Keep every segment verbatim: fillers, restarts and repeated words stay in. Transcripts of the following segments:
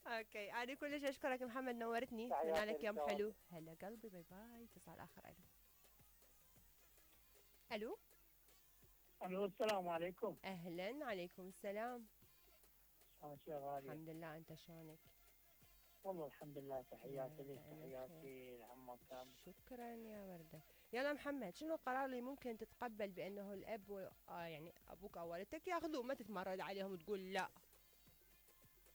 اوكي، انا كلش اشكرك محمد، نورتني، اتمنى تحياتي لك يوم للشباب. حلو. هلا قلبي، باي باي. اتصال اخر. الو الو الو السلام عليكم. اهلا، عليكم السلام. شلونك يا غالية؟ الحمد لله، انت شلونك؟ والله الحمد لله، تحياتي لك، دائما بخير. تحياتي لعمك كامل. شكرا يا وردة. يلا محمد، شنو القرار اللي ممكن تتقبل بانه الاب و... آه يعني ابوك او والدتك ياخذوه، ما تتمرد عليهم وتقول لا؟ أه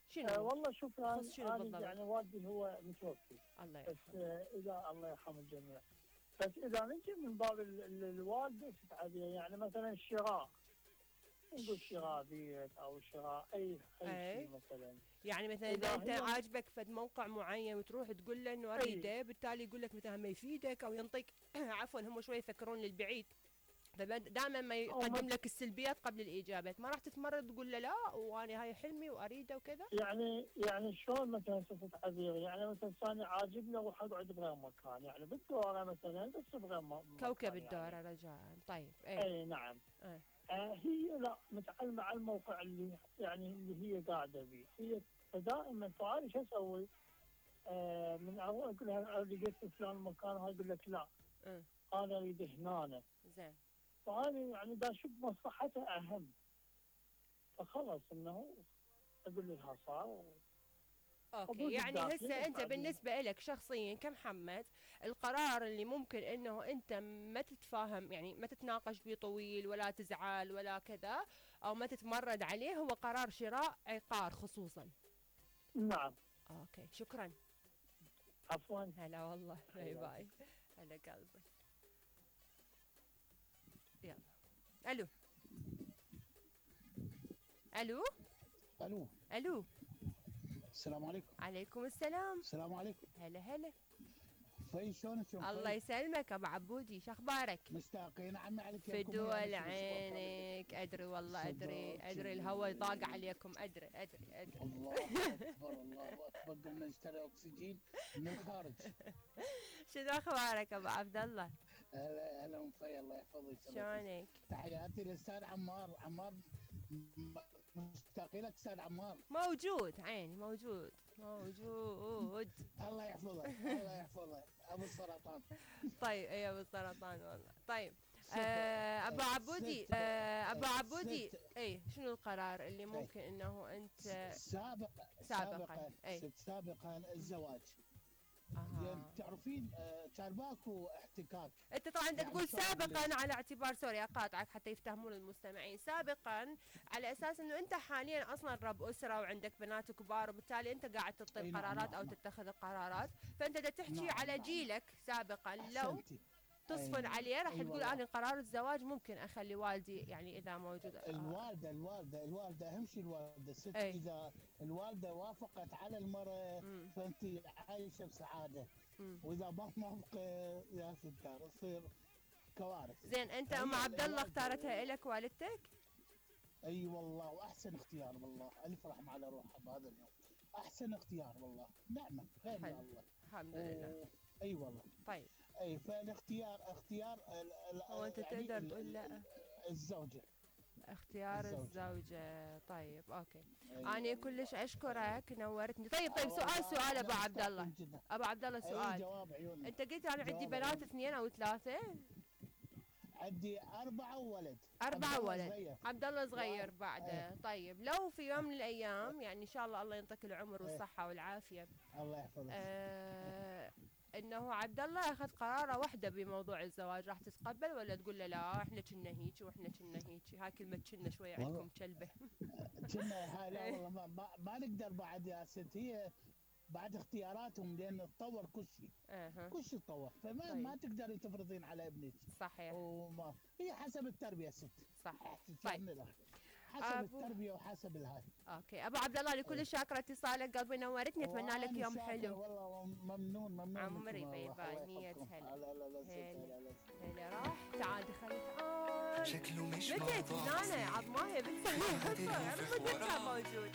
شنو والله شوف، تخص شنو انا أنا بالضبط؟ يعني والدي هو متوفي. الله بس يرحمه. أه اذا الله يرحم الجميع. بس اذا نجي من باب ال- ال- الوالده تتعدي، يعني مثلا الشراء، نقول شراء بيت او شراء اي اي اي، شيء مثلا. يعني مثلا اذا اذا انت هي عاجبك فد موقع معين وتروح تقول له انه اي اريده، بالتالي يقول لك مثلا ما يفيدك او ينطيك عفوا، هم شوي يفكرون للبعيد، فدائما ما او يقدم لك السلبيات قبل الايجابات. ما راح تتمرد تقول له لا وانا هاي حلمي واريده وكذا؟ يعني يعني شلون مثلا صفة عبير، يعني مثلا ثاني عاجبني اروح اقعد بغير مكان، يعني بالدوره مثلا بس بغير م- كوكب مكان الدورة يعني. رجاء. طيب ايه. اي نعم. اه. آه هي لا متعلمة على الموقع اللي يعني اللي هي قاعدة به هي. فدائما فانا شو اسوي؟ آه من اول اقول لها لقيت في فلان مكان، هاي يقول لك لا اه. انا اريد هنا. زين. فانا يعني دا اشوف مصلحتها اهم، فخلص انه اقول لها صار. اوكي، حدود يعني الداخلي هسه بس انت بعدين. بالنسبة لك شخصيا كمحمد، القرار اللي ممكن انه انت ما تتفاهم، يعني ما تتناقش فيه طويل ولا تزعل ولا كذا، او ما تتمرد عليه، هو قرار شراء عقار خصوصا. نعم. اوكي، شكرا. عفوا. هلا والله، باي حياتي. باي. هلا قلبي. يلا. الو الو الو. الو السلام عليكم. عليكم السلام. السلام عليكم. هلا هلا. في شلونك يوم الله خير؟ يسلمك ابو عبودي، شخبارك؟ مشتاقين عمي عليك في يمكم يا دول نص الاسبوع كامل. عينك، ادري والله، ادري صدق. ادري الهوى ضاق عليكم، ادري ادري ادري. الله اكبر الله اكبر، قمنا نشتري اكسجين من الخارج. شنو اخبارك ابو عبد الله؟ هلا هلا ام في، الله يحفظك ويسلمك. شلونك؟ تحياتي للاستاذ عمار. عمار م- مشتاقين لك استاذ عمار. موجود عيني، موجود موجود. الله يحفظك الله يحفظك ابو السرطان. طيب اي ابو السرطان والله. طيب ست آه ابو عبودي، ست آه ابو عبودي، ست اي شنو القرار اللي أي. ممكن انه انت سابق سابقا سابقا اي ست سابقا الزواج. يعني اها. تعرفين آه، كان ماكو احتكاك. انت طبعا انت يعني تقول شلون أقول سابقا لك؟ على اعتبار، سوري اقاطعك حتى يفتهمون المستمعين، سابقا على اساس انه انت حاليا اصلا رب اسره وعندك بنات كبار، وبالتالي انت قاعد تعطي اي نعم القرارات او نعم نعم تتخذ القرارات، فانت بدك تحكي نعم على نعم نعم. جيلك سابقا. لو احسنتي. تصفن اي عليه راح اي تقول والله. انا قرار الزواج ممكن اخلي والدي، يعني اذا موجود آه. الوالده الوالده الوالده اهم شيء الوالده الست. اي. اذا الوالده وافقت على المراه مم. فانت عايشه بسعاده. مم. واذا ما موافقه يا ستار تصير كوارث. زين، انت فهي ام عبد الله الوالده. اختارتها لك والدتك؟ اي والله، واحسن اختيار والله، الف رحمه على روحها بهذا اليوم. احسن اختيار والله، نعمه غير حلو، يا الله. الحمد لله. و... اي والله. طيب اي فالاختيار اختيار ال... هو ال... انت يعني تقدر ال... تقول ال... لا؟ الزوجه. اختيار الزوجه. الزوجة. طيب اوكي، اي انا والله. كلش اشكرك، نورتني. طيب آه طيب سؤال والله سؤال ابو احنا عبد الله، مشتاقين جدا. ابو عبد الله اي سؤال. جواب عيوني. انت قلت انا عندي جواب بنات عيوني. اثنين او ثلاثة؟ عندي اربعه وولد. عبد أربعة الله ولد، صغير. عبد الله صغير واحد. بعده. ايه. طيب لو في يوم من الأيام، يعني إن شاء الله الله ينطيك العمر ايه. والصحة والعافية، الله يحفظك. آه إنه عبد الله أخذ قراره وحده بموضوع الزواج، راح تتقبل ولا تقول له لا إحنا كنا هيك وإحنا كنا هيك؟ هاي كلمة كنا شوية والله عندكم كلبة. كنا هاي لا والله ما, ما, ما نقدر بعد يا ست. هي بعد اختياراتهم لان تطور كل شيء. اها. كل شيء تطور، فما طيب ما تقدري تفرضين على ابنك. صحيح. وما هي حسب التربيه ست. صح. طيب حسب أبو التربيه وحسب الهاي. اوكي ابو عبد الله، لكل شاكره اتصالك، قلبي نورتني، اتمنى لك وأنا يوم شاكر حلو. والله، ممنون ممنون عمري منكم باي والله. باي. الله مية يحفظكم. هلا. لا لا لا ست. هلا لا لا ست. هلا. راح تعال دخل تعال. شكله مش متى موضوع تنانة بسيط، عظماها بنت ما حد انا ينفخ متى كان وراه. موجود.